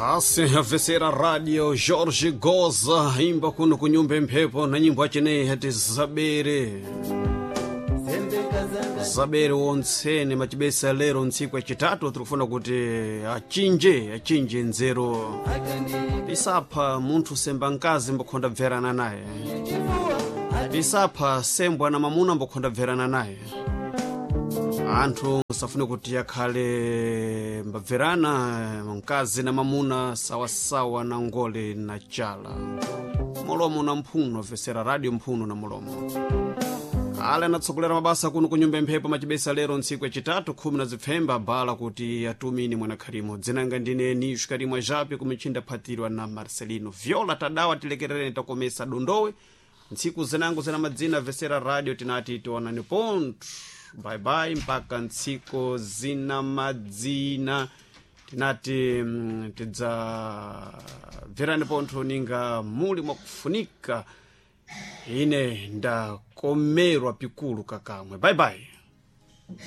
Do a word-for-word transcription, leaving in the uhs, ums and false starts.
Basi avesera radio Jorge Goza imba kuno kunyumba mphepo na nyimbo acheneyi hati zabere zabere wontsene machibesa lero ntsiku yachitatu tikufuna kuti achinje achinje nzeru tisapha munthu semba mkazi mbokhonda bverana naye tisapha sembwa na mamuna mbokhonda bverana naye anthu safune kuti akhale mbabverana mkazi na mamuna sawasawa na ngole na chala mulomo na mphuno vesera radio mphuno na mulomo ale anatsogolera mabasa kuno kunyumba mphepo machibesa lero ntsiku yachitatu khumi na zipfemba bala kuti atumini mwanakhalimo dzinanga ndine nishu karimwa japi kumichinda phatirwa na marcelino viola tadawa tilekerereni takomesa dondowe ntsiku zinango zina madzina vesera radio tinati tionani pontho bye bye mpaka ntsiku zina madzina tinati mm, tidzabverani pontho ninga muli mwakufunika ine ndakomerwa pikulu kakamwe bye bye.